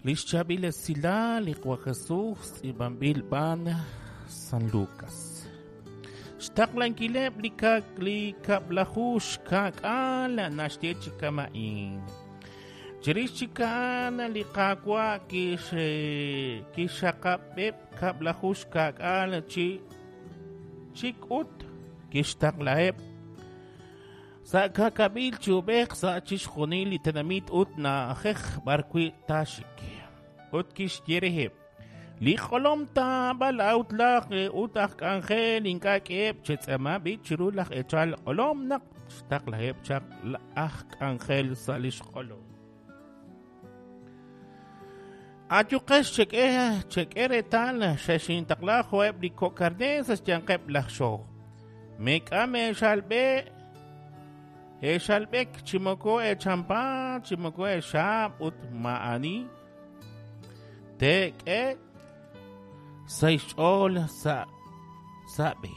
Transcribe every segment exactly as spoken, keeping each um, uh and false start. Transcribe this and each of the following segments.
Lix chaab'il esilal li Qwa Jesus tz'iib'anb'il b'aan San Lucas. Xtaqlankileb' li li kab'laju xka'k'aal naxye chi kama'in. Chirix chik a'an li Qaawa' kix kixxaqab'eb' kab'laju xka'k'aal chi chik ut kixtaqlaheb' sa' ka'kab'il chi ub'ej sa' chixjunil li tenamit ut na'ajej b'arwi' taaxik. Ut kixye reheb': Li q'olom taab'al ut laj ut aj k'anjel ink'a' k'eheb' chetz'eema b'i' chiru laj eechal q'olom naq xtaqlaheb' chaq aj k'anjel sa' li xq'olom. Ayuqex chek'e chek'e reetal xexintaqla jo'eb' li kok' karneer sa' xyanqeb' laj xoj. Meek'am eexalb'e eexalb'ek chi moko eechampa chi moko eexaab' ut ma'ani teek'e sa' xch'ool sa' sa' b'e.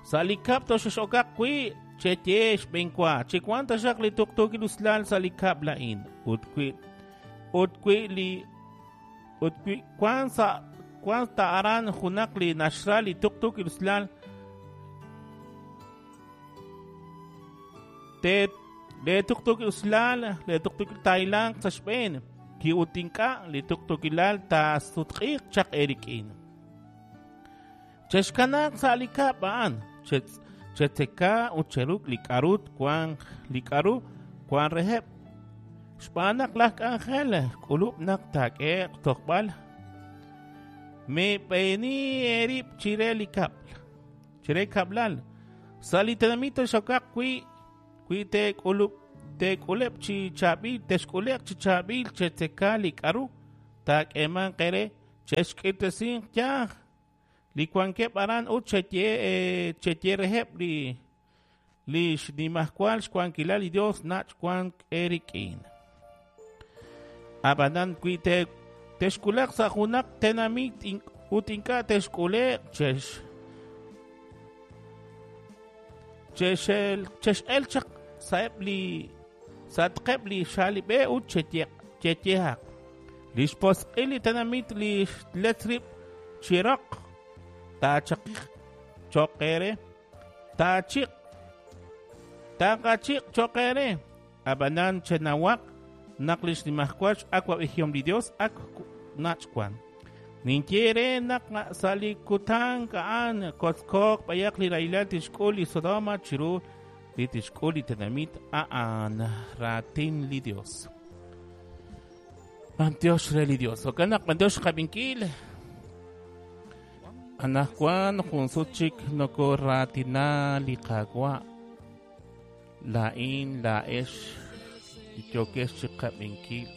Sa' li kab' toxex'okaq wi' cheye xb'enwa chi wan taxaq li tuqtuukil usilal sa' li kab' la'in ut wi' ut wi' li ut wi' wan sa' wan ta aran junaq li naxra li tuqtuukil usilal te le tuqtuukil usilal le tuqtuukil taylanq sa' xb'een ki ut ink'a' li tuqtuukilal taasutq'iiq chaq erik'in. Chexkanaaq sa' li kab' a'an chetzeka ut cheruk' li k'arut wan li k'aru wan reheb' xb'aan naq laj k'anjel k'ulub' naq taak'ehe'q tojb'al meeb'eeni eerib' chire li kab'l chire kab'lal sa' li tenamit xokaq wi' wi' teek'ulub' teek'uleb' chi chaab'il texk'ule'q chi chaab'il chetzeka li k'aru taak'eemanq eere chexk'irtesinq yaj li wankeb' aran ut cheye cheye reheb' li li xnimajwal xwankilal li Dios nach' wank eerik'in. Ab'anan wi' te texk'ule'q sa' junaq tenamit ut ink'a' texk'ule'q chex chexel chex'el chaq sa'eb' li sa'atqeb' li xaalib'e ut cheyehaq li xposq'il li tenamit li xletz rib' chiroq taachaqiq cho'q eere taachiq taaqachiq cho'q eere ab'anan chenawaq naq li xnimajwal x'awab'ejihom li Dios ak nach' wan. Ninye re naq sa' li kutan a'an kotzkoq b'ayaq li rahilal tixk'ul li Sodoma chiru li tixk'ul li tenamit a'an raatin li Dios. B'antiox re li Dios. Jo'kan naq b'antiox qab'inkil anajwan jun sut chik nokoraatina li Qaawa' laa'in laa'ex li yookex chi qab'inkil.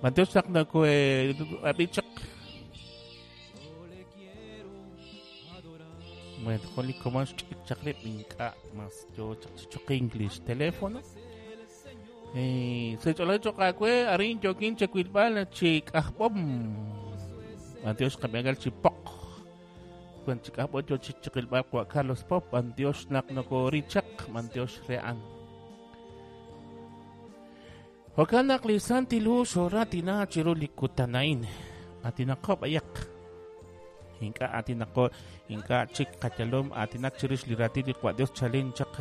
B'antiox naq nokoab'i chaq. Bueno, jun li komon xch'ik chaq rib' ink'a' mas yoo chaq chi choqink li xteléfono. Eh, sech'olaj choq aawe arin yookin chawilb'al chi k'ajb'om. B'antiox qab'inkal chi poq. Wan chi k'ajb'om yoo chi chiqilb'al wa Carlos Pop, b'antiox naq nokorichaq, b'antiox re'an. Jo'kan naq li Santil Hu xooratina chiru li kutan a'in. Atinaqo b'ayaq. Ink'a' atinaqo ink'a' chik qayalom atinak chirix li raatin li Qwa Dios chalen chaq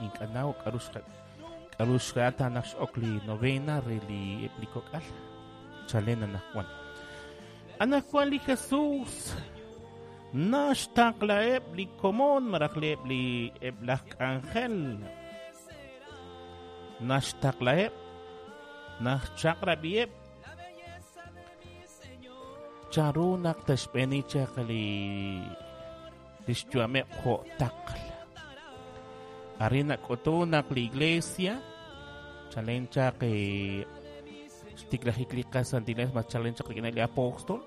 ink'a' naw k'aru k'aru xrata naq x'ok li novena re li eb' li kok'al chalen anajwan. Anajwan li Jesus naxtaqlaheb' li komon malaj eb' li eb' laj k'anjel naxtaqlaheb' naxchaq'rab'iheb' chanru naq texb'eeni chaq li li xyu'ameb' jo' taql. Arin nak'utu naq li iglesia chalen chaq xtiklajik li qasantiles mas chalen chaq rik'in li apóstol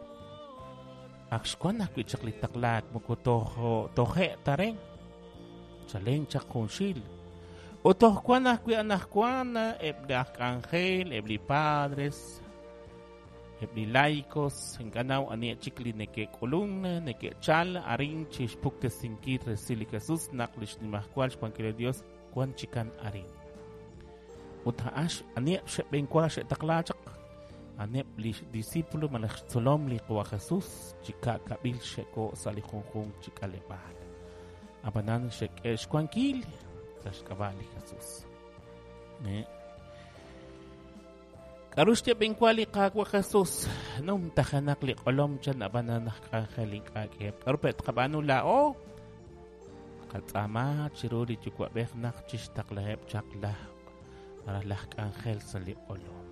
ak xwan ajwi' chaq li taqlaak moko toj toje' taren chalen chaq junxil ut toj wan ajwi' anajwan eb' li aj k'anjel eb' li padres eb' li laicos ink'a' naw ani chik li neke'k'ulun neke'chal arin chi xpuktesinkil resil li Jesus naq li xnimajwal xwankil li Dios wan chikan arin. Ut a'an aniheb' xe'b'enwa xe'taqla chaq aneb' li discípulo malaj xtzolom li Qawa Jesús chi ka'kab'il xe'ko' sa' li junjunq chi k'aleb'aal. Ab'anan xe'k'e xwankil sa' xk'ab'a' li Jesús. K'aru xyeb'enwa li Qawa Jesús numtajenaq li q'olom chan ab'anan aj k'anjel ink'a' k'eheb'. K'aru pe' tqab'aanu laa'o? Qatz'aama chiru li yuwa'b'ej naq chixtaqlaheb' chaq laj malaj laj k'anjel sa' li q'olom.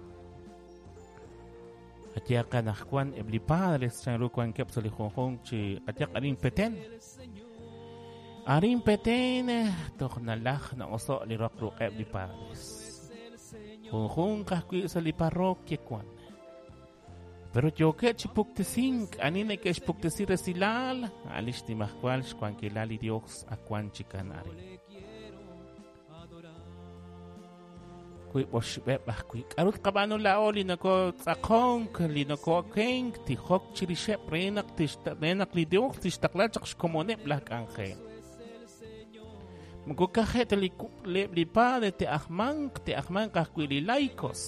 Qayehaq anaqwan eb' li padres chanru wankeb' sa' li junjunq chi qayehaq arin Petén. Arin Petén toj nalaj na'oso' li roq ruq'eb' li padres. Junjunq ajwi' sa' li parroquia wan. Pero yookeb' chi puktesink ani neke'xpuktesi resilal a' li xnimajwal xwankilal li Dios ak wan chikan arin. Wiib' oxib'eb' ajwi'. K'aru tqab'aanu laa'o li nokotz'aqonk, li noko'okenk, tijok chirixeb' re naq re naq li Dios tixtaqla chaq xkomoneb' laj k'anjel. Moko kaje' ta li li padre te'ajmanq, te'ajmanq ajwi' li laicos.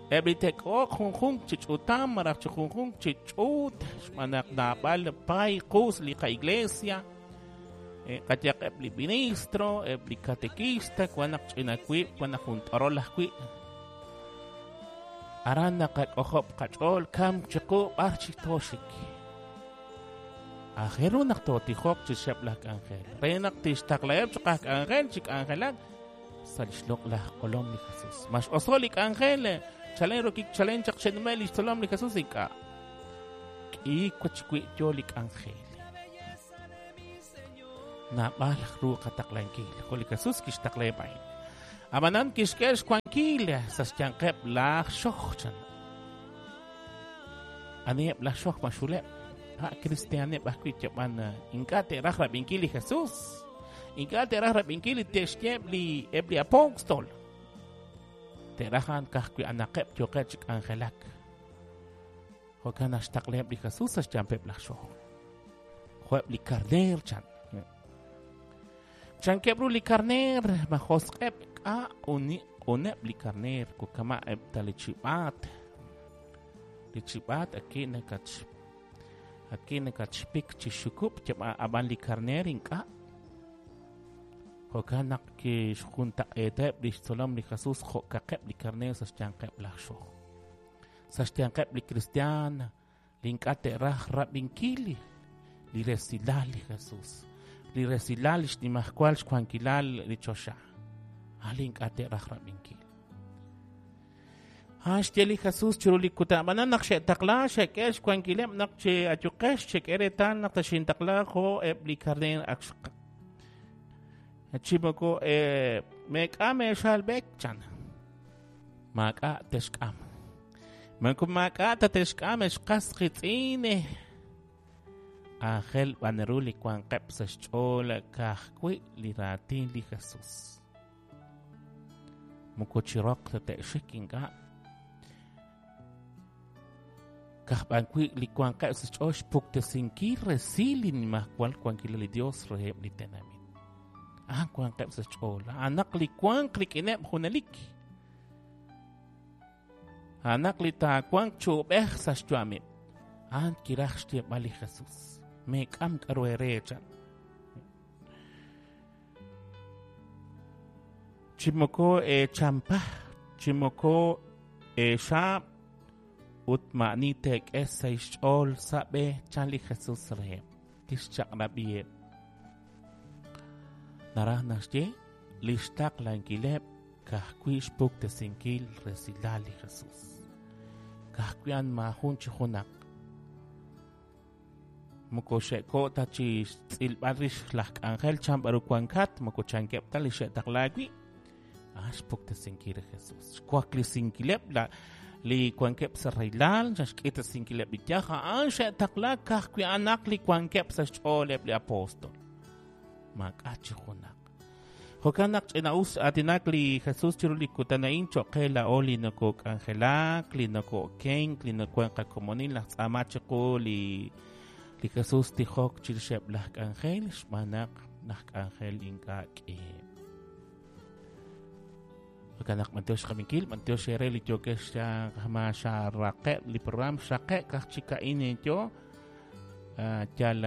Eb' li te'k'oq junjunq chi ch'utam malaj chi junjunq chi ch'uut xb'aan naq naab'al pay qus li qa'iglesia. Qayehaq eb' li ministro, eb' li catequista, wan naq ch'ina wiib', wan naq jun t'orol ajwi'. Aran naqak'ojob' qach'ool kamk chiqu b'ar chi tooxik. Aajel ru naq tootijoq chixeb' laj k'anjel. Re naq tixtaqlaheb' chaq aj k'anjel chi k'anjelak sa' li xloq'laj q'olom li Jesús. Ma x'oso' li k'anjel, chalen rokik chalen chaq xe'nume' li xtzolom li Jesús ink'a'. K'iik wach wi' yo li k'anjel. Naab'al ru qataqlankil. Jo' li Jesús kixtaqlaheb' a'in. Ab'anan kixk'e xwankil sa' xyanqeb' laj xoj chan. Aniheb' laj xoj ma xuleb'? Ha' kristianeb' ajwi' yab'an ink'a' te'raj rab'inkil li Jesús. Ink'a' te'raj rab'inkil li te'xyeb' li eb' li apóstol. Te'raj a'an ka'ajwi' anaqeb' yooqeb' chi k'anjelak. Jo'kan naq xtaqlaheb' li Jesús sa' xyanqeb' laj xoj. Jo'eb' li karneer chan. Chankeb' ru li karneer ma josq'eb' k'a' q'uneb' li karneer kukama' eb' ta li chib'aat. Li chib'aat aki' nakach aki' nakachpik chi xukub' ab'an li karneer ink'a'. Jo'kan naq kixjuntaq'eeteb' li xtzolom li Jesús jo'kaqeb' li karneer sa' xyanqeb' laj xoj. Sa' xyanqeb' li kristiaan li ink'a' te'raj rab'inkil li resilal li Jesús. Li resilal li xnimajwal xwankilal li choxa. A' li ink'a' te'raj rab'inkil. A' xye li Jesús chiru li kutan. Ab'anan naq xe'taqla xe'k'e xwankileb' naq chi ayuqex xe'k'e reetal naq taxintaqla jo' eb' li karneer ak chi moko meek'a meexalb'ek chan. Maak'a' texk'am. Moko maak'a' ta texk'am exqas qitz'in. Aajel b'an ru li wanqeb' sa' xch'ool ka'ajwi' li raatin li Jesús. Moko chiroq ta te'xik ink'a'. Ka'aj wi' li wanqeb' sa' xch'ool xpuktesinkil resil li nimajwal wankilal li Dios reheb' li tenamit. A'an wanqeb' sa' xch'ool. A'anaq li wanq rik'ineb' junelik. A'anaq li taawanq chu'ub'ej sa' xyu'ameb'. A'an kiraj xyeeb'al li Jesús. Meek'am k'aru eere chan. Chi moko eechampa, chi moko eexaab' ut ma'ani teek'e sa' xch'ool sa' b'e chan li Jesús reheb'. Kixchaq'rab'iheb'. Naraj naxye li xtaqlankileb' ka'ajwi' xpuktesinkil resilal li Jesús. Ka'ajwi' an maajun chi junaq. Moko xe'ko' ta chi xtz'ilb'al rix laj k'anjel chan b'aru wankat, moko chankeb' ta li xe'taqla wi'. Ah, xpuktesinkil li Jesús. Xwaklisinkileb' la li wankeb' sa' rahilal, xk'itesinkileb' li yaj, a'an xe'taqla ka'ajwi' anaq li wankeb' sa' xch'ooleb' li apóstol. Maak'a' chi junaq. Jo'kan naq ch'ina'us aatinak li Jesús chiru li kutan a'in cho'q qe laa'o li nokok'anjelak, li noko'okenk, li nokowan qakomonil, laj tz'aama chiqu li li Jesús tijok chirixeb' laj k'anjel xb'aan naq laj k'anjel ink'a' k'iheb'. Kanaq b'antiox xqabinkil, b'antiox ere li yokex ma xaraqeb' li program xaqe' kaj chik a'in yo yal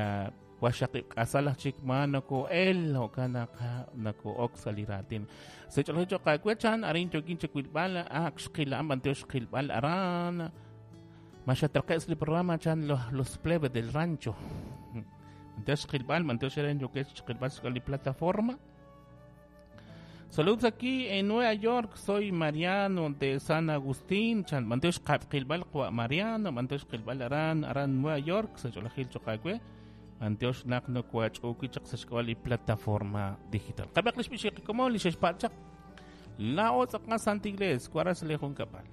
waxaqib' k'asal aj chik ma nako'el jo'kan naq nako'ok sa' li raatin. Sech'oloj choq awe chan arin yokin chiwilb'al ak xqila'an b'antiox xqilb'al aran ma xatraqe' sa' li programa chan los, los plebes del rancho. B'antiox xqilb'al, b'antiox ere yokex xqilb'al sa' li plataforma. Saludos aquí en Nueva York, soy Mariano de San Agustín, chan b'antiox qilb'al qwa Mariano, b'antiox qilb'al aran aran Nueva York, sech'olojil choq awe. B'antiox naq nokoach'uki chaq sa' xk'ab'a' li plataforma digital. Qab'eq li xb'ixi como li xexpa'chaq. La otz'aqa Santa Iglesia, cuaras le junkapal.